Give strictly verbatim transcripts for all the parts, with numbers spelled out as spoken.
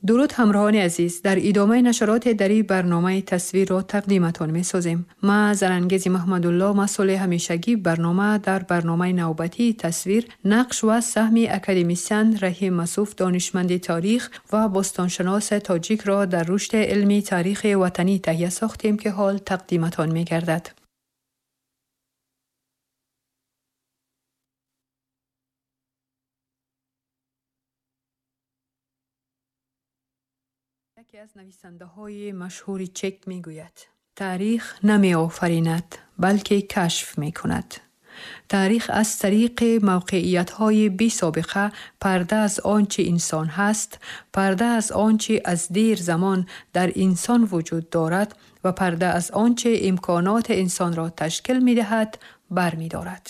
Дуруд ҳамроҳони азиз, дар идомаи нашароти дари барномаи тасвирро тақдиматон месозем. Ма Зарангези Маҳмадулло, масъули ҳамешагии барнома, дар барномаи навбатии тасвир нақш ва саҳми академисиан Раҳим Масуф, донишманди таърих ва бостоншинос тоҷикро дар рушди илми таърихи ватанӣ таҳия сохтем, ки ҳол тақдиматон мегардад. Яке аз нависандаҳои машҳури чек мегӯяд: таърих намеофаринад, балки кашф мекунад. Таърих аз тариқи мавқеиятҳои бесобиқа парда аз он чи инсон ҳаст, парда аз он чи аз дер замон дар инсон вуҷуд дорад ва парда аз он чи имконоти инсонро ташкил медиҳад бармедорад.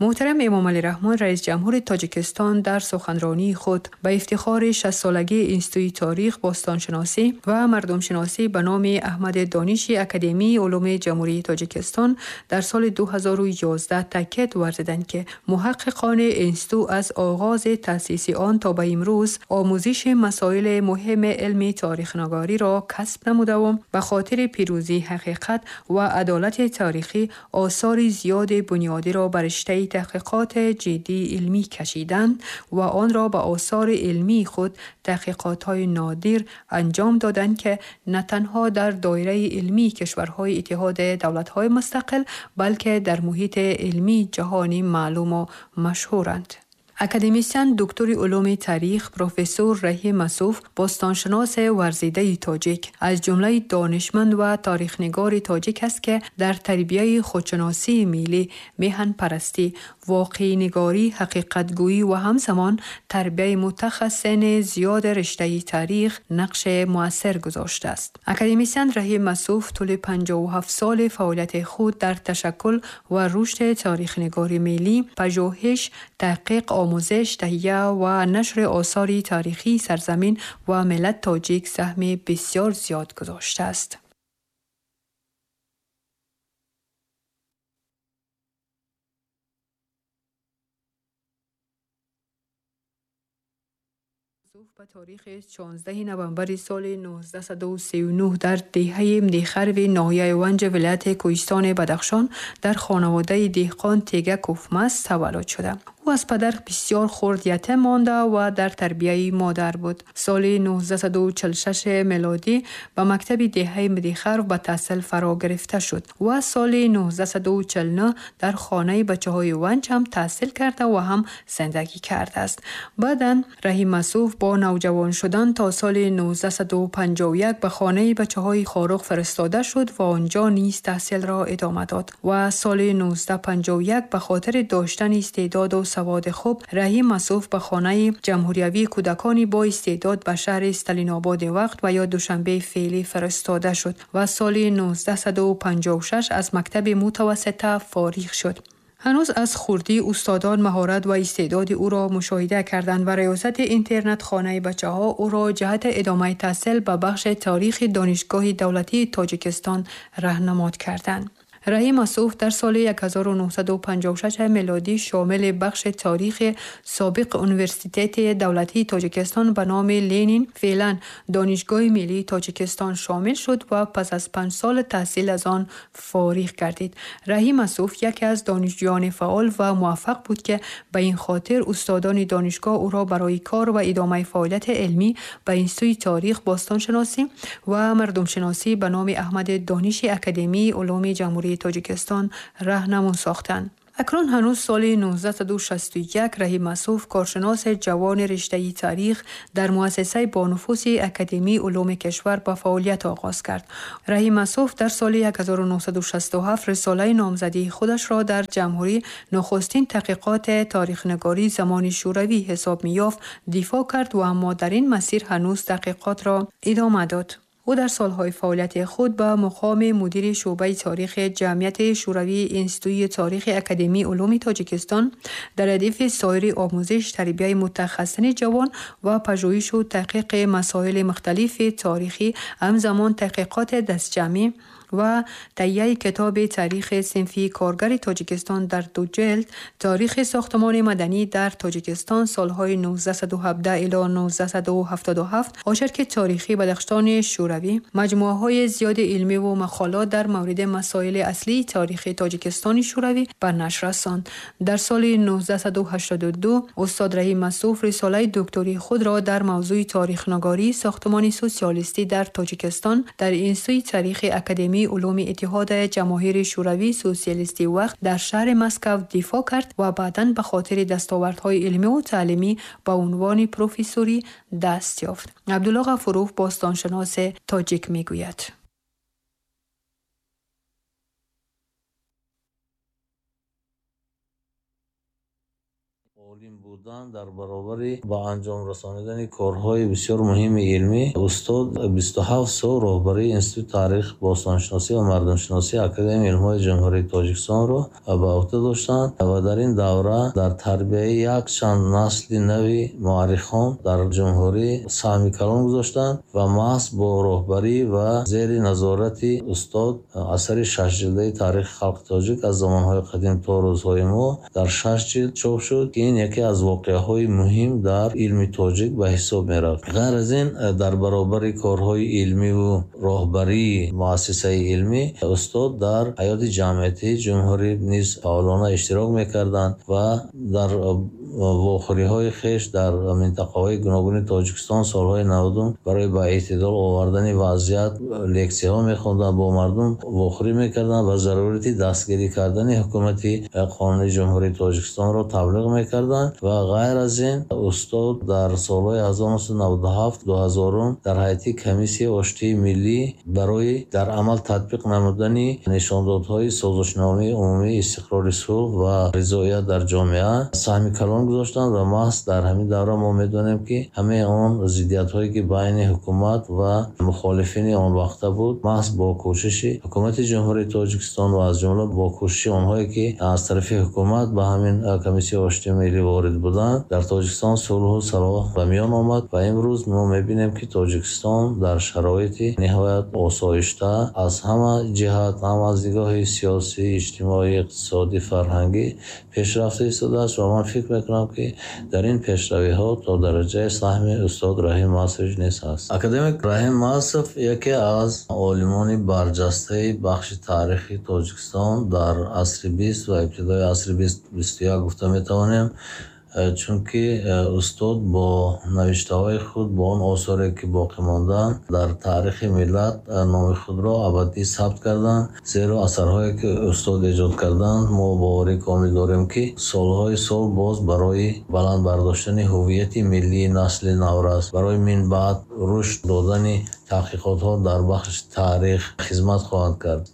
Муҳтарам Эмомалӣ Раҳмон, раис ҷумҳури Тоҷикистон, дар суханронии худ ба ифтихори шастсолагии Институти таърих, бостоншиносӣ ва мардумшиносӣ ба номи Аҳмади Дониши Академияи улуми Ҷумҳурии Тоҷикистон дар соли ду ҳазору ёздаҳ таъкид варзиданд, ки муҳаққиқони институт аз оғози таъсиси он то ба имрӯз омӯзиши масоили муҳими илми таърихнигориро касб намудаву ба хотири пирӯзии ҳақиқат ва адолати таърихӣ осори зиёди бунёдиро ба риштаи таҳқиқоти ҷиддии илмӣ кашиданд ва онро ба осори илмии худ таҳқиқотҳои нодир анҷом доданд, ки на танҳо дар доираи илмии кишварҳои Иттиҳоди давлатҳои мустақил, балки дар муҳити илмии ҷаҳонӣ маълуму машҳуранд. Академисиан, доктори улуми таърих, профессор Раҳим Масуф, бостоншиноси варзидаи тоҷик, аз ҷумлаи донишманд ва таърихнигори тоҷик аст, ки дар тарбияи худшиносии миллӣ, меҳанпарастӣ, воқеънигарӣ, ҳақиқатгӯӣ ва ҳамзамон тарбияи мутахассисини зиёди риштаи таърих нақши муассир гузоштааст. Академисиан Раҳим Масуф тӯли панҷоҳу ҳафт соли фаъолияти худ дар ташаккул ва рушди таърихнигори миллӣ, пажӯҳиш, таҳқиқ, омӯзиш, таҳия ва нашри осори таърихии сарзамин ва миллат тоҷик саҳми бисёр зиёд гузоштааст. Ба таърихи шонздаҳуми ноябри соли нуздаҳсаду сию нӯҳ дар деҳаи Мдихарви ноҳияи Ванҷ вилояти Кӯҳистони Бадахшон дар хонаводаи деҳқон Тега Куфмас таваллуд шуда. Ӯ аз падар бисёр хурд ятим монда ва дар тарбияи модар буд. Соли нуздаҳсаду чилу шаш мелодӣ ба мактаби деҳаи Мдихарв ба таҳсил фаро гирифта шуд ва соли нуздаҳсаду чилу нӯҳ дар хонаи бачаҳои Ванҷ ҳам таҳсил карда ва ҳам зиндагӣ кардааст. Баъдан Раҳим Масуф бо навҷавон шудан то соли нуздаҳсаду панҷоҳу як ба хонаи бачаҳои Хоруғ фиристода шуд ва онҷо низ таҳсилро идома дод ва соли нуздаҳсаду панҷоҳу як ба хотири доштани истеъдоду саводи хуб Раҳим Масуф ба хонаи ҷумҳуриявии кӯдакони бо истеъдод ба шаҳри Сталинободи вақт ва ё Душанбеи феълӣ фиристода шуд ва соли нуздаҳсаду панҷоҳу шаш аз мактаби мутавассита фориғ шуд. Ҳанӯз аз хурдӣ устодон маҳорат ва истеъдоди ӯро мушоҳида карданд ва риёсати интернат-хонаи бачаҳо ӯро ҷиҳати идомаи таҳсил ба бахши таърихи Донишгоҳи давлатии Тоҷикистон раҳнамод карданд. Раҳим Масуф дар соли ҳазору нӯҳсаду панҷоҳу шаш мелодӣ шомили бахши таърихи собиқ Университети давлатии Тоҷикистон ба номи Ленин, феълан Донишгоҳи миллии Тоҷикистон, шомил шуд ва пас аз панҷ соли таҳсил аз он фориғ гардид. Раҳим Масуф яке аз донишҷӯёни фаъол ва муваффақ буд, ки ба ин хотир устодони донишгоҳ ӯро барои кор ва идомаи фаъолияти илмӣ ба Институти таърих, бостоншиносӣ ва мардумшиносӣ ба номи Аҳмади Дониши Академияи улуми Ҷумҳурии Тоҷикистон раҳнамун сохтанд. Акнун ҳанӯз соли нуздаҳсаду шасту як Раҳим Масуф, коршиноси ҷавони риштаи таърих, дар муассисаи бонуфузи Академияи улуми кишвар ба фаъолият оғоз кард. Раҳим Масуф дар соли ҳазору нӯҳсаду шасту ҳафт рисолаи номзадии худашро дар ҷумҳурӣ нахустин таҳқиқоти таърихнигории замони шӯравӣ ҳисоб меёфт дифоъ кард ва аммо дар ин масир ҳанӯз таҳқиқотро идома дод. Ӯ дар солҳои фаъолияти худ ба муқоми мудири шӯъбаи таърихи Ҷамъияти Шӯравии Институти таърихи Академияи улуми Тоҷикистон дар радифи соири омӯзиш, тарбияи мутахассисини ҷавон ва пажӯҳишу таҳқиқи масоили мухталифи таърихӣ, ҳамзамон таҳқиқоти дастҷамъӣ و تهیه کتاب تاریخ صنفی کارگر تاجیکستان در دو جلد، تاریخ ساختمان مدنی در تاجیکستان سالهای نوزده و هفده الی نوزده و هفتاد و هفت، آشرک تاریخی بدخشان شوروی، مجموعه های زیاد علمی و مقالات در مورد مسائل اصلی تاریخ تاجیکستان شوروی به نشر رساند. در سال نوزده و هشتاد و دو استاد رحیم مسوف رساله دکتری خود را در موضوع تاریخ نگاری ساختمان سوسیالیستی در تاجیکستان در اینستیتوت تاریخ اکادمی علوم اتحاد جماهیر شوروی سوسیالیستی وقت در شهر مسکو دفاع کرد و بعداً به خاطر دستاوردهای علمی و تعلیمی به عنوان پروفسوری دست یافت. عبدالله غفوروف باستانشناس تاجیک میگوید: عالم بودن در برابر با انجام رساندن کارهای بسیار مهم علمی، استاد بیست و هفت سال راهبری انستیتوت تاریخ، باستانشناسی و مردمشناسی اکادمی علم‌های جمهوری تاجیکستان را به عهده داشتند و در این دوره در تربیه یک چند نسل نوی مورخان در جمهوری سهم کلان گذاشتند و محض با راهبری و زیر نظارت استاد اثر شش جلده تاریخ خلق تاجیک از زمانهای قدیم تا روزهای ما در شش جلد چاپ شد که این یکی از واقعه‌های مهم در علم تاجیک به حساب می‌رفت. غیر از این در برابر کارهای علمی و راهبری مؤسسه علمی، استاد در حیات جمعیتی جمهوری نیز فعالانه اشتراک می‌کردند و در واخوری‌های خویش در منطقه‌های گوناگون تاجیکستان سال‌های نودم برای به اعتدال آوردن وضعیت لکسی‌ها می‌خواندند، با مردم واخوری می‌کردند و ضرورت دستگیری کردن حکومت قانونی جمهوری تاجیکستان را تبلیغ می‌کردند. و غیر از این استاد در سال‌های هزار و نهصد و نود و هفت دو هزار در هیئت کمیسیه آشتی ملی برای در عمل تطبیق نمودن نشاندادهای سازشنامه عمومی استقرار صلح و رضایت در جامعه سهم کلان گذاشتند و محض در همین دوره ما می‌دانیم که همه آن ضدیت‌هایی که بین حکومت و مخالفین آن وقت بود، محض با کوشش حکومت جمهوری تاجیکستان و از جمله با کوشش آنهایی که از طرف حکومت به همین کمیسیه آشتی ملی وارد بودند، در تاجیکستان صلح و صلاح به میان آمد و امروز ما می‌بینیم که تاجیکستان در شرایط نهایت آسایشته از همه جهت، هم از نگاه سیاسی، اجتماعی، اقتصادی، فرهنگی پیشرفته ایستاده است و من فکر می‌کنم که در این پیشروی‌ها تا درجه سهم استاد رحیم مسوف نیز هست. اکادمیک رحیم مسوف یکی از عالمان برجسته بخش تاریخی تاجیکستان در عصر بیست و ابتدای عصر بیست و یک گفته می‌توانیم، چونکه استاد با نوشته‌های خود، با آن آثاری که باقی ماندند در تاریخ ملت نام خود را ابدی ثبت کردند. زیرا اثرهایی که استاد ایجاد کردند ما باوری کامل داریم که سالهای سال باز برای بلند برداشتن هویت ملی نسل نورس، برای من بعد رشد دادن تحقیقات‌ها در بخش تاریخ خدمت خواهند کرد.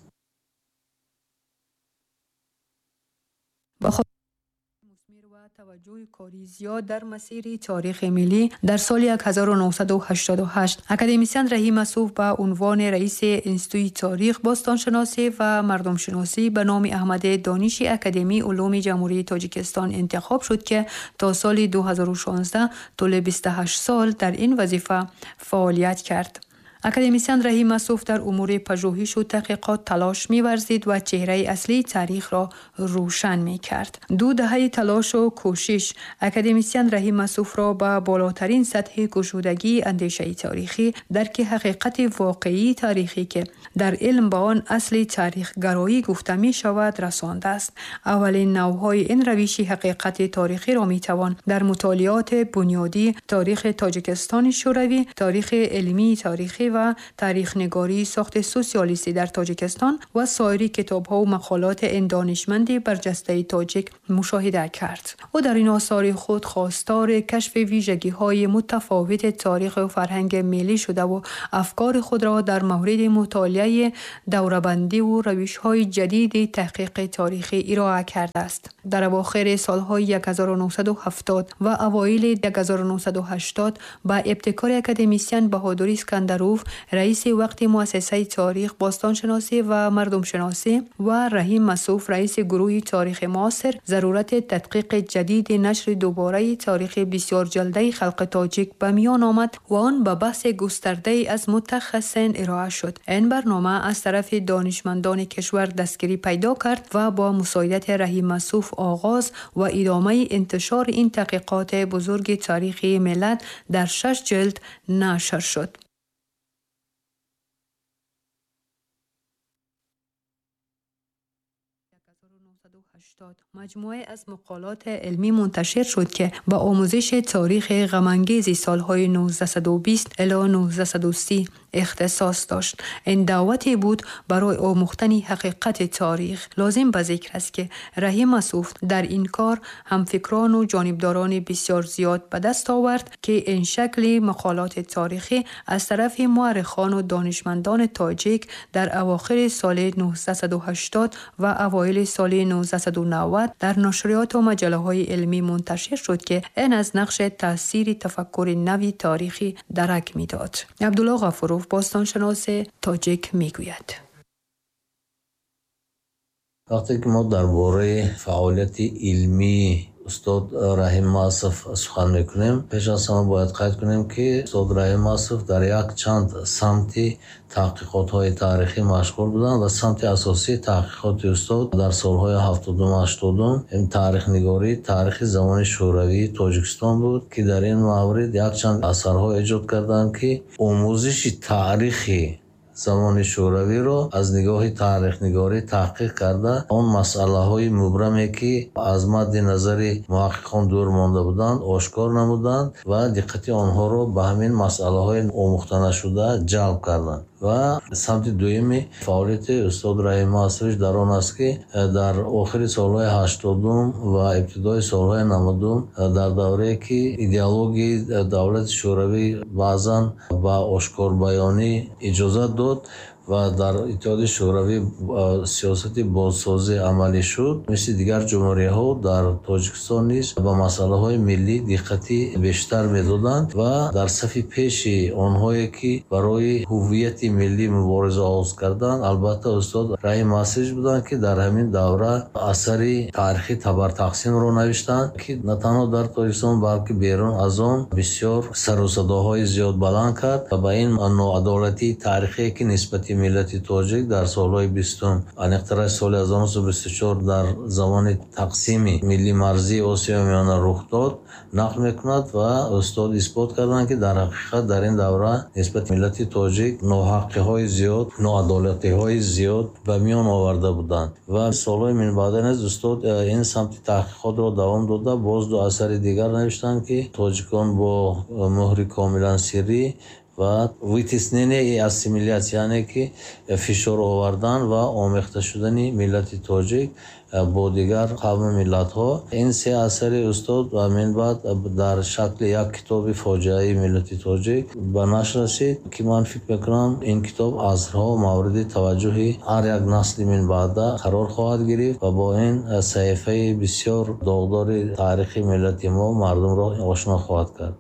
توجه کاری زیاد در مسیر تاریخ ملی در سال هزار و نهصد و هشتاد و هشت اکادمیسیان رحیم مسوف به عنوان رئیس انستیتوت تاریخ، باستانشناسی و مردمشناسی به نام احمد دانش اکادمی علوم جمهوری تاجیکستان انتخاب شد که تا سال دو هزار و شانزده طول بیست و هشت سال در این وظیفه فعالیت کرد. اکادمیسیان رحیم مسوف در امور پژوهش و تحقیقات تلاش می‌ورزید و چهره اصلی تاریخ را روشن می‌کرد. دو دهه تلاش و کوشش اکادمیسیان رحیم مسوف را به بالاترین سطح گشودگی اندیشه تاریخی، درک حقیقت واقعی تاریخی که در علم به آن اصل تاریخ گرایی گفته می شود رسانده است. اولین نوع‌های این روش حقیقت تاریخی را می‌توان در مطالعات بنیادی تاریخ تاجیکستان شوروی، تاریخ علمی تاریخی و تاریخ نگاری ساخت سوسیالیستی در تاجیکستان و سایر کتاب‌ها و مقالات این دانشمند برجسته تاجیک مشاهده کرد. او در این آثار خود خواستار کشف ویژگی‌های متفاوت تاریخ و فرهنگ ملی شده و افکار خود را در مورد مطالعه دوره‌بندی و روش‌های جدید تحقیق تاریخی ارائه کرده است. در اواخر سال‌های هزار و نهصد و هفتاد و اوایل هزار و نهصد و هشتاد با ابتکار اکادمیسیان بهادر اسکندروف Ғафуров، رئیس وقت مؤسسه تاریخ، باستانشناسی و مردمشناسی و رحیم مسعود، رئیس گروه تاریخ معاصر، ضرورت تدقیق جدید نشر دوباره تاریخ بسیار جلده خلق تاجیک به میان آمد و آن به بحث گسترده از متخصصین ارائه شد. این برنامه از طرف دانشمندان کشور دستگیری پیدا کرد و با مساعدت رحیم مسعود آغاز و ادامه انتشار این تحقیقات بزرگ تاریخی ملت در شش جلد نشر شد. مجموعه از مقالات علمی منتشر شد که با آموزش تاریخ غم‌انگیز سالهای نوزده و بیست الی نوزده و سی اختصاص داشت. این دعوتی بود برای آموختن حقیقت تاریخ. لازم به ذکر است که رحیم مسعود در این کار همفکران و جانبداران بسیار زیاد به دست آورد که این شکل مقالات تاریخی از طرف مورخان و دانشمندان تاجیک در اواخر سال نوزده و هشتاد و اوایل سال نوزده و نود در نشریات و مجله های علمی منتشر شد که این از نقش تاثیر تفکر نوی تاریخی درک میداد. عبدالله غفوروف، باستانشناس تاجیک، میگوید: وقتی که ما درباره فعالیت علمی استاد رحیم مسعود سخن میکنیم، پیش از همه باید قید کنیم که استاد رحیم مسعود در یک چند سمت تحقیقات های تاریخی مشغول بودند و سمت اساسی تحقیقات استاد در سالهای هفتادم و هشتادم تاریخ نگاری تاریخ زمان شوروی تاجیکستان بود که در این مورد یک چند اثرها ایجاد کردند که آموزش تاریخی زمان شوروی را از نگاه تاریخ نگاری تحقیق کرده، آن مسئله های مبرمی که از مد نظر محققان دور مانده بودند آشکار نمودند و دقت آنها را به همین مسئله های آموخته نشده جلب کردند. و سمت دوم فعالیت استاد رحیم مسعود در آن است که در آخر سالهای هشتادم و ابتدای سالهای نودم، در دوره که ایدئولوژی دولت شوروی بعضا به آشکار بیانی اجازه داد و در اتحاد شوروی سیاست بازسازی عملی شد، مثل دیگر جمهوری ها در تاجیکستان نیز به مسئله های ملی دقت بیشتر میدادند و در صف پیش آنهایی که برای هویت ملی مبارزه آغاز کردند البته استاد رحیم مسعود بودند که در همین دوره اثر تاریخی تبر تقسیم را نوشتند که نه تنها در تاجیکستان بلکه بیرون از آن بسیار سر و صداهای زیاد بلند کرد و به این ناعدالتی تاریخی که نسبت ملت تاجیک در سالهای بیستم، انقطاع سال هزار و نهصد و بیست و چهار در زمان تقسیم ملی مرزی آسیای میانه رخ داد نقل میکند و استاد اثبات کردند که در حقیقت در این دوره نسبت ملت تاجیک ناحقی های زیاد، ناعدالتی های زیاد به میان آورده بودند و سالهای من بعد نیز استاد این سمت تحقیقات را دوام داده، باز دو اثر دیگر نوشتند که تاجیکان با مهر کاملا سری و вытеснение и ассимиляция، یعنی که فشار آوردن و آمیخته شدن ملت تاجیک با دیگر قوم ملت ها. این سه اثر استاد و من بعد در شکل یک کتاب فاجعه ملت تاجیک به نشر رسید که من فکر میکنم این کتاب عصرها مورد توجه هر یک نسل من بعد قرار خواهد گرفت و با این صحیفه بسیار داغدار تاریخ ملت ما مردم را آشنا خواهد کرد.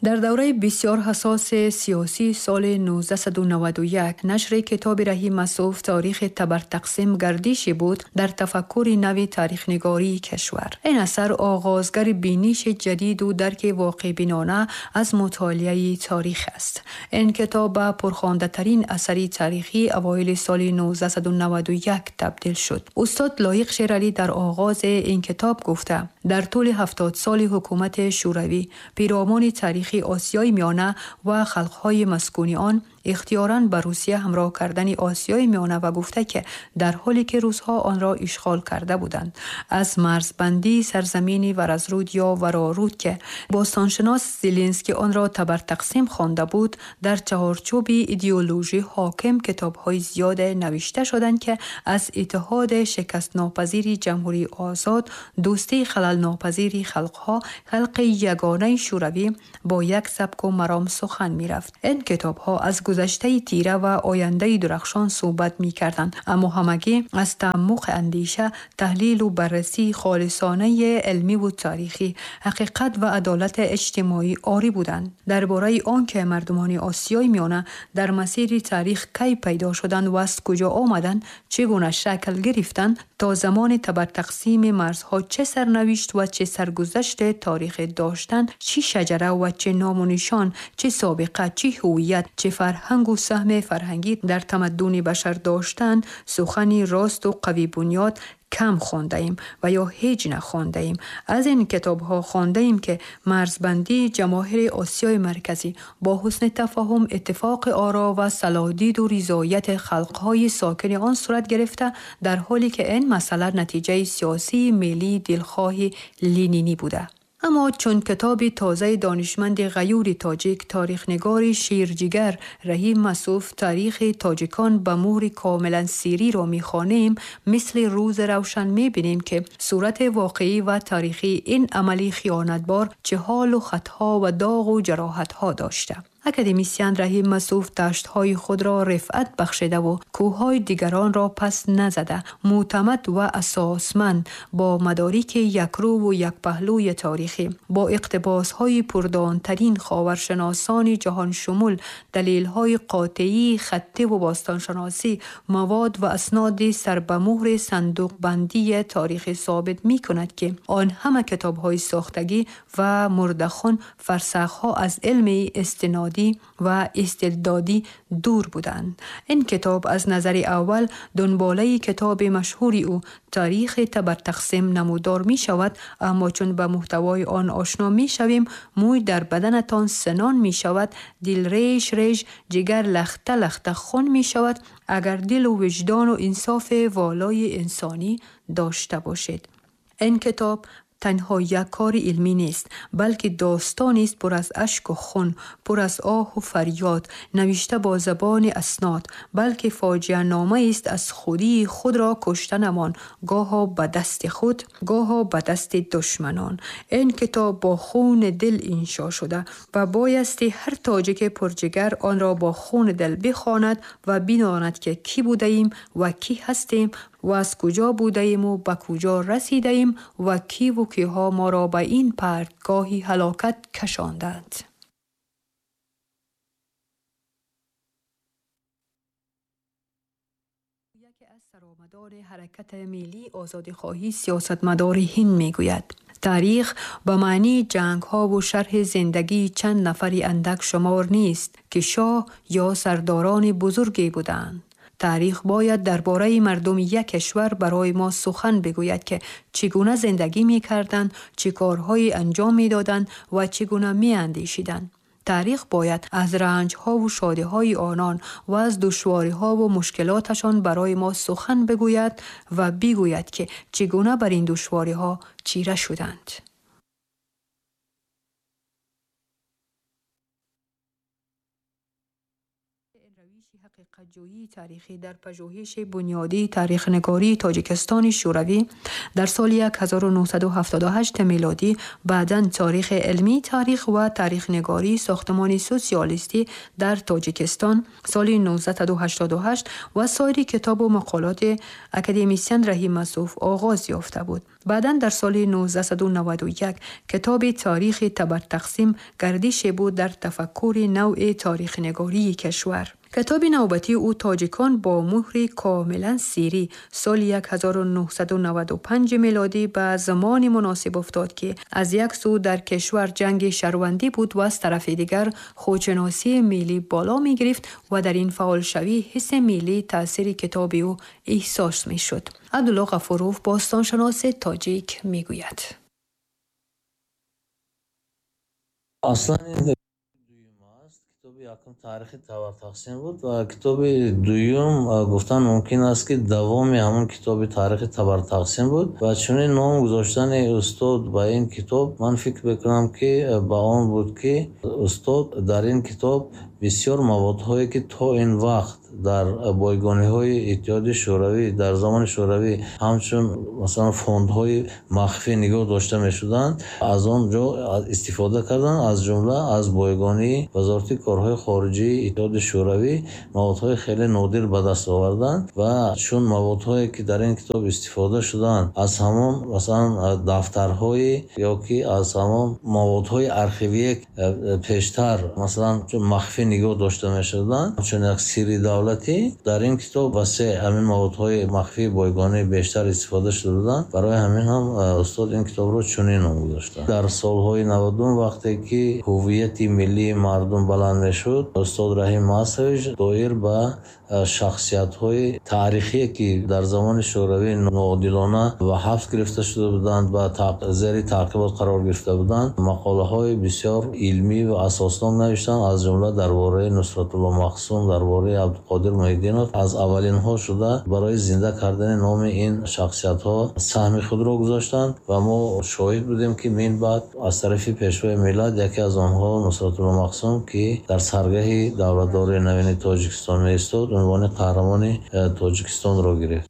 در دوره بسیار حساس سیاسی سال نوزده و نود و یک نشر کتاب رحیم مسعود تاریخ تبر تقسیم گردشی بود در تفکر نو تاریخ نگاری کشور. این اثر آغازگر بینش جدید و درک واقع بینانه از مطالعه تاریخ است. این کتاب به پرخوانده ترین اثر تاریخی اوایل سال نوزده و نود و یک تبدیل شد. استاد لایق شیرعلی در آغاز این کتاب گفته: در طول هفتاد سال حکومت شوروی پیرامان تاریخ آسیای میانه و خلقهای مسکونی آن اختیاراً به روسیه همراه کردن آسیای میانه و گفته که در حالی که روس‌ها آن را اشغال کرده بودند، از مرزبندی سرزمینی ورزرود یا ورارود که باستانشناس زیلینسکی آن را تبر تقسیم خوانده بود، در چهارچوب ایدئولوژی حاکم کتاب‌های زیاد نوشته شدند که از اتحاد شکست ناپذیر جمهوری آزاد، دوستی خلل ناپذیر خلقها، خلق یگانه شوروی با یک سبک و مرام سخن می‌رفت. این کتاب‌ها از گذشته تیره و آینده درخشان صحبت می‌کردند، اما همگی از تعمق اندیشه، تحلیل و بررسی خالصانه علمی و تاریخی، حقیقت و عدالت اجتماعی عاری بودند. درباره آنکه مردمان آسیای میانه در مسیر تاریخ کی پیدا شدند و از کجا آمدند، چگونه شکل گرفتند، تا زمان تبر تقسیم مرزها چه سرنوشت و چه سرگذشت تاریخ داشتند، چه شجره و چه نام و نشان، چه سابقه، چه هویت، چه فرهنگ و سهم فرهنگی در تمدن بشر داشتند، سخنی راست و قوی بنیاد کم خوانده ایم و یا هیچ نخوانده ایم. از این کتاب ها خوانده ایم که مرزبندی جماهیر آسیای مرکزی با حسن تفاهم، اتفاق آرا و صلاحدید و رضایت خلقهای ساکن آن صورت گرفته، در حالی که این مسئله نتیجه سیاسی ملی دلخواه لینینی بوده. اما چون کتاب تازه دانشمند غیور تاجیک، تاریخ نگار شیرجیگر رحیم مسوف، تاریخ تاجیکان به مهر کاملا سیری را میخوانیم، مثل روز روشن میبینیم که صورت واقعی و تاریخی این عملی خیانتبار چه حال و خطها و داغ و جراحتها داشته. اکادمیسیان رحیم مسوف دشت‌های خود را رفعت بخشیده و کوه‌های دیگران را پس نزده، معتمد و اساسمند با مدارک یکرو و یک پهلوی تاریخی، با اقتباس‌های پردانترین خاورشناسان جهان شمول، دلیل‌های قاطعی خطی و باستانشناسی، مواد و اسناد سر به مهر صندوق بندی تاریخ ثابت می‌کند که آن همه کتاب‌های ساختگی و مردخون فرسخ‌ها از علم استنادی و استدلادی دور بودند. این کتاب از نظر اول دنباله کتاب مشهور او تاریخ تبر تقسیم نمودار می شود، اما چون به محتوای آن آشنا می شویم، موی در بدنتان سنان می شود، دل ریش ریش، جگر لخته لخته خون می شود، اگر دل و وجدان و انصاف والای انسانی داشته باشید. این کتاب تنها یک کار علمی نیست، بلکه داستانی است پر از اشک و خون، پر از آه و فریاد، نوشته با زبان اسناد، بلکه فاجعه نامه است از خودی خود را کشتنمان، گاها به دست خود، گاها به دست دشمنان. این کتاب با خون دل انشا شده و بایستی هر تاجیک پرجگر آن را با خون دل بخواند و بداند که کی بوده ایم و کی هستیم و از کجا بوده ایم و به کجا رسیده ایم و کی و کیها ما را به این پرتگاه هلاکت کشاندند. یکی از سرآمدان حرکت ملی آزادیخواهی سیاستمدار هند میگوید: تاریخ به معنی جنگ ها و شرح زندگی چند نفری اندک شمار نیست که شاه یا سرداران بزرگی بودند. تاریخ باید درباره مردم یک کشور برای ما سخن بگوید که چگونه زندگی می کردند، چه کارهایی انجام می دادند و چگونه می اندیشیدند. تاریخ باید از رنج‌ها و شادی‌های آنان و از دشواری‌ها و مشکلاتشان برای ما سخن بگوید و بگوید که چگونه بر این دشواری‌ها چیره شدند. حقیقت‌جویی تاریخی در پژوهش بنیادی تاریخ‌نگاری تاجیکستان شوروی در سال هزار و نهصد و هفتاد و هشت میلادی، بعداً تاریخ علمی تاریخ و تاریخ‌نگاری ساختمان سوسیالیستی در تاجیکستان سال نوزده هشتاد و هشت و سایر کتاب و مقالات اکادمیسیان رحیم مسوف آغاز یافته بود. بعداً در سال نوزده نود و یک کتاب تاریخ تبر تقسیم گردش بود در تفکر نوع تاریخ‌نگاری کشور. کتاب نوبتی او تاجیکان با مهر کاملا سیری سال هزار و نهصد و نود و پنج میلادی به زمان مناسب افتاد که از یک سو در کشور جنگ شهروندی بود و از طرف دیگر خودشناسی ملی بالا می گرفت و در این فعال شوی حس ملی تاثیر کتاب او احساس می شد. عبدالله غفوروف باستانشناس تاجیک می گوید: اصلا якум таърихи табартақсим буд ва китоби дуюм гуфтан мумкин аст ки давоми ҳамон китоби таърихи табартақсим буд ва чунин ном гузоштани устод ба ин китоб ман фикр мекунам ки ба он буд ки устод дар ин китоб Бисёр маводҳое ки то ин вақт дар бойгониҳои Иттиҳоди Шӯравӣ дар замони Шӯравӣ ҳамчун масалан фондҳои махфӣ нигоҳ дошта мешуданд, аз он ҷо истифода карданд. Аз ҷумла аз бойгонии Вазорати корҳои хориҷии Иттиҳоди Шӯравӣ маводҳои хеле нодир ба даст оварданд ва чун маводҳое ки дар ин китоб истифода шуданд аз ҳамон масалан дафтарҳои ё ки аз ҳамон маводҳои архивие пештар масалан чун махфӣ нигоҳ дошта мешуданд, чун як сирри давлатӣ, дар ин китоб васеъ ҳамин маводҳои махфии бойгонӣ бештар истифода шуда буданд. Барои ҳамин ҳам устод ин китобро чунин ном гузоштанд. Дар солҳои навадум вақте ки ҳувияти миллии мардум баланд мешуд, устод Раҳим Масович доир ба шахсиятҳои таърихие ки дар замони Шӯравӣ ноодилона ба ҳабс гирифта шуда буданд ва зери таъқибот қарор гирифта буданд, мақолаҳои бисёр илмӣ ва асоснок навиштанд. Аз ҷумла дар бораи Нусратулло Махсум, дар бораи Абдуқодир Муҳиддинов аз аввалинҳо шуда барои зинда кардани номи ин шахсиятҳо саҳми худро гузоштанд ва мо шоҳид будем ки минбаъд аз тарафи Пешвои миллат яке аз онҳо Нусратулло Махсум ки дар саргаҳи давлатдории навини Тоҷикистон меистод, унвони қаҳрамони Тоҷикистонро гирифт.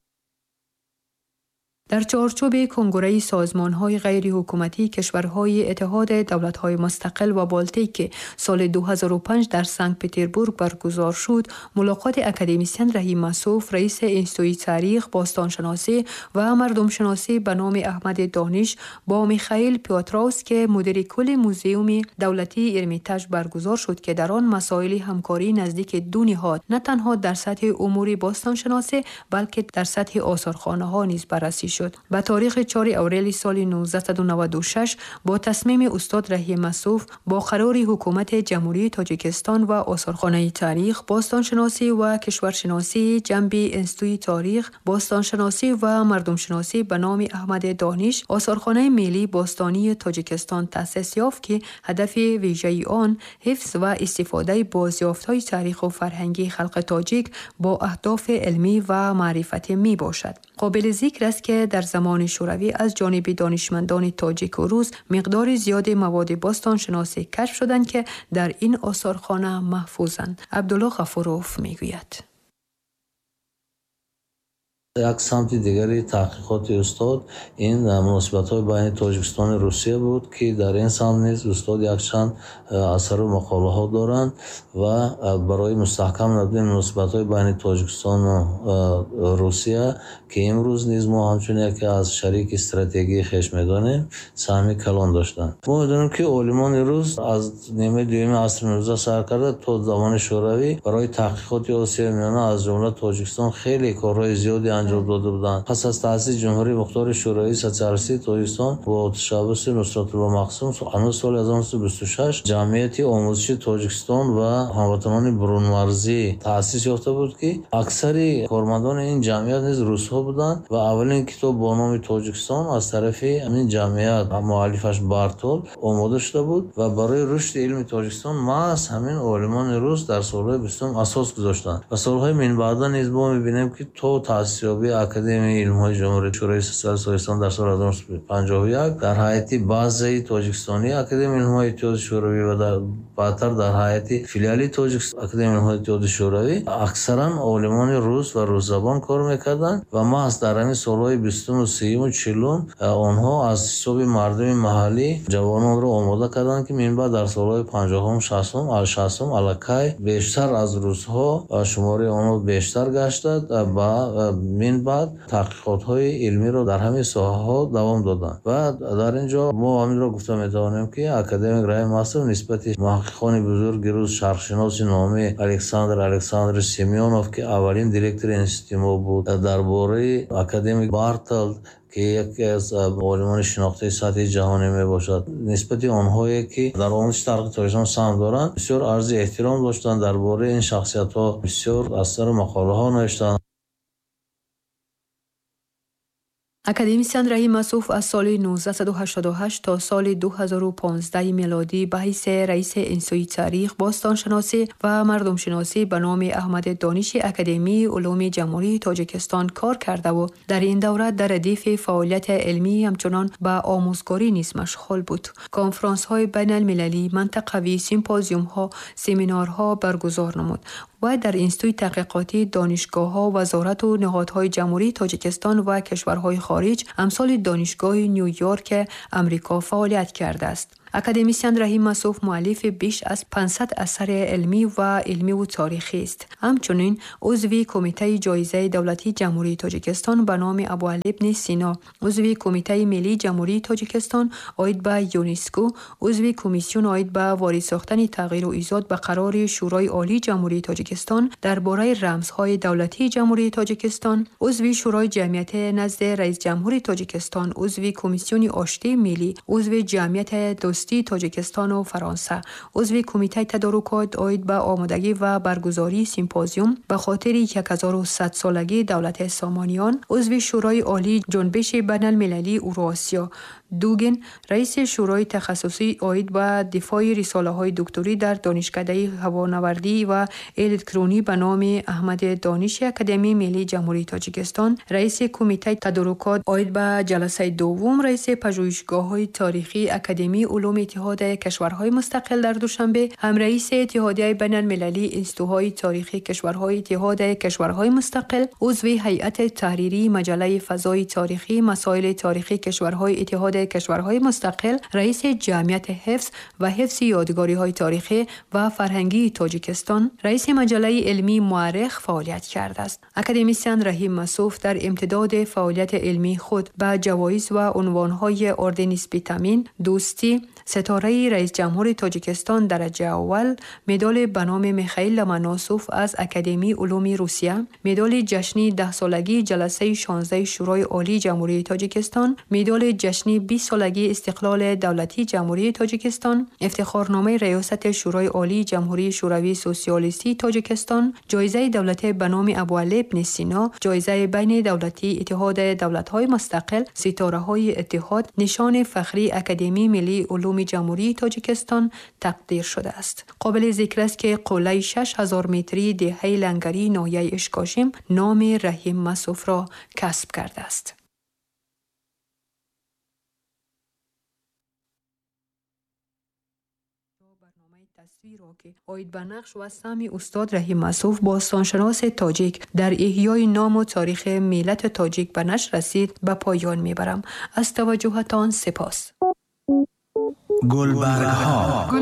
Дар чорчӯби کنگره سازمان‌های غیرحکومتی کشورهای اتحاد دولت‌های مستقل و بالتیک که سال دو هزار و پنج در سنت پترزبورگ برگزار شد، ملاقات اکادمیسین رحیم مسوف، رئیس انستیتوت تاریخ، باستانشناسی و مردمشناسی به نام احمد دانش با میخائیل پیوتروس که مدیر کل موزیوم دولتی ارمیتاژ برگزار شد که در آن مسائل همکاری نزدیک دو نهاد نه تنها در سطح امور باستانشناسی بلکه در سطح آثارخانه‌ها نیز بررسی شد. به تاریخ چهار اوریل سال نوزده نود و شش با تصمیم استاد رحیم مسوف با قرار حکومت جمهوری تاجیکستان و آثارخانه تاریخ، باستانشناسی و کشورشناسی جنبی انستیتوت تاریخ، باستانشناسی و مردمشناسی به نام احمد دانش، آثارخانه ملی باستانی تاجیکستان تأسیس یافت که هدف ویژه آن حفظ و استفاده بازیافت‌های تاریخ و فرهنگی خلق تاجیک با اهداف علمی و معرفتی می باشد. قابل ذکر است که در زمان شوروی از جانب دانشمندان تاجیک و روس مقدار زیاد مواد باستانشناسی کشف شدند که در این آثارخانه محفوظند. عبدالله غفوروف میگوید: як самти дигари таҳқиқоти устод ин муносибатҳои байни Тоҷикистону Русия буд, ки дар ин самт низ устод якчанд асару мақолаҳо доранд ва барои мустаҳкам намудани муносибатҳои байни Тоҷикистону Русия, ки имрӯз низ мо ҳамчун яке аз шарики стратегии хеш медонем, саҳми калон доштанд. Мо медонем, ки олимони рус аз нимаи дуюми асри нуздаҳ сар карда то замони Шӯравӣ барои таҳқиқоти Осиёи Миёна аз ҷумла Тоҷикистон хеле корҳои зиёде анҷом дода буданд. Пас аз таъсиси Ҷумҳурии Мухтори Шӯравии Сотсиалистии Тоҷикистон бо ташаббуси Нусратулло Махсум ҳанӯз соли ҳазору нӯҳсаду бисту шаш Ҷамъияти омӯзиши Тоҷикистон ва ҳамватанони бурунмарзӣ таъсис ёфта буд, ки аксари кормандони ин ҷамъият низ русҳо буданд ва аввалин китоб бо номи Тоҷикистон аз тарафи ҳамин ҷамъият муаллифаш Бартол омода шуда буд ва барои рушди илми Тоҷикистон маҳз ҳамин олимони рус дар солҳои бистум асос гузоштанд. Ва солҳои минбаъда низ мо мебинем, ки то таъсисёбии Академияи илмҳои Ҷумҳурии Шӯравии Сотсиалистии Тоҷикистон дар соли ҳазору нӯҳсаду панҷоҳу як дар ҳайати базаи Тоҷикистонии Академияи илмҳои Иттиҳоди Шӯравӣ ва баъдтар дар ҳайати филиали Академияи илмҳои Иттиҳоди Шӯравӣ аксаран олимони рус ва русзабон кор мекарданд ва маҳз дар ҳамин солҳои бистуму сиюму чилум онҳо аз ҳисоби мардуми маҳаллӣ ҷавононро омода карданд, ки минбаъд дар солҳои панҷоҳум, шастум, шастум аллакай бештар аз русҳо шумораи онҳо бештар гаштад ва минбаъд таҳқиқотҳои илмиро дар ҳамин соҳаҳо давом доданд. Ва дар ин ҷо мо ҳаминро гуфта метавонем, ки академик Раҳим Масов нисбати муҳаққиқони бузурги рус, шарқшиноси номи Александр Александрович Семёнов, ки аввалин директори институти мо буд, дар бораи академик Бартолд, ки яке аз олимони шинохтаи сатҳи ҷаҳонӣ мебошад, нисбати онҳое ки дар омӯзиши таърихи Тоҷикистон саҳм доранд, бисёр арзи эҳтиром доштанд. Дар бораи ин шахсиятҳо бисёр асару мақолаҳо навиштанд. Академисиан Раҳим Масуф аз соли нуздаҳсаду ҳаштоду ҳашт то соли ду ҳазору понздаҳ милодӣ ба ҳайси раиси Институти таърих, бостоншиносӣ ва мардумшиносӣ ба номи Аҳмад Дониши Академияи улуми Ҷумҳурии Тоҷикистон кор кардаву дар ин давра дар радифи фаъолияти илмӣ ҳамчунон ба омӯзгорӣ низ машғул буд. Конфронсҳои байналмилалӣ, мантақавӣ, симпозиумҳо, семинарҳо баргузор намуд ва дар Институти таҳқиқотӣ, донишгоҳҳо, вазорату ниҳодҳои Ҷумҳурии Тоҷикистон ва кишварҳои хориҷ амсоли Донишгоҳи Ню-Йорк Амрико фаъолият кардааст. Академисиан Раҳим Масуф муаллифи беш аз панҷсад асари илмӣ ва илмиву таърихӣ аст. Ҳамчунин узви Кумитаи ҷоизаи давлатии Ҷумҳурии Тоҷикистон ба номи Абуалӣ ибни Сино, узви Кумитаи миллии Ҷумҳурии Тоҷикистон оид ба ЮНЕСКО, узви Комиссион оид ба ворид сохтани тағйиру изод ба қарори Шӯрои Олии Ҷумҳурии Тоҷикистон дар бораи рамзҳои давлатии Ҷумҳурии Тоҷикистон, узви Шӯрои ҷамъияти назди Раисҷумҳури Тоҷикистон, узви Комиссиони оштии миллӣ, узви ҷамъияти дӯстии Тоҷикистону Фаронса, узви Кумитаи тадорукот оид ба омодагӣ ва баргузории симпозиум ба хотири як ҳазору сад солагии давлати Сомониён, узви Шӯрои Олии ҷунбиши байналмилалии Уросиё, Дугин, раиси Шӯрои тахассусӣ оид ба дифои рисолаҳои докторӣ дар Донишкадаи ҳавонавардӣ ва электронӣ ба номи Аҳмади Дониши Академияи миллии Ҷумҳурии Тоҷикистон, раиси Кумитаи тадорукот оид ба ҷаласаи дуввум, раиси пажӯҳишгоҳҳои таърихии Академияи улуми Иттиҳоди кишварҳои мустақил дар Душанбе, ҳамраиси Иттиҳодияи байналмилалии институтҳои таърихии кишварҳои Иттиҳоди кишварҳои мустақил, узви ҳайати таҳририи маҷаллаи фазои таърихӣ масоили таърихии кишварҳои Иттиҳоди кишварҳои мустақил, раиси ҷамъияти ҳифз ва ҳифзи ёдгориҳои таърихӣ ва фарҳангии Тоҷикистон, раиси маҷаллаи илмии Муаррих фаъолият кардааст. Академисиан Раҳим Масуф дар имтидоди фаъолияти илмии худ ба ҷавоиз ва унвонҳои ордени Спитамин, Дӯстӣ, ситораи Раисҷумҳури Тоҷикистон дараҷаи аввал, медали ба номи Михаил Ломоносов аз Академияи улуми Русия, медали ҷашни даҳсолагии ҷаласаи шонздаҳи Шӯрои Олии Ҷумҳурии Тоҷикистон, медали ҷашни бист солагии истиқлоли давлатии Ҷумҳурии Тоҷикистон, ифтихорномаи Раёсати Шӯрои Олии Ҷумҳурии Шӯравии Сосиалистии Тоҷикистон, ҷоизаи давлатӣ ба номи Абуалӣ ибни Сино, ҷоизаи байнидавлатии Иттиҳоди давлатҳои мустақил, ситораҳои иттиҳод, нишони фахрии Академияи миллии улуми Ҷумҳурии Тоҷикистон тақдир шудааст. Қобили зикр аст, ки қуллаи шаш ҳазор метрии деҳаи Лангарии ноҳияи Ишкошим номи Раҳим Масуфро касб кардааст. Ки оид ба нақш ва саҳми устод Раҳим Масуф, бостоншиноси тоҷик, дар эҳёи ному таърихи миллати тоҷик ба нашр расид, ба поён мебарам. Аз таваҷҷӯҳатон сипос. Гулбаргҳо.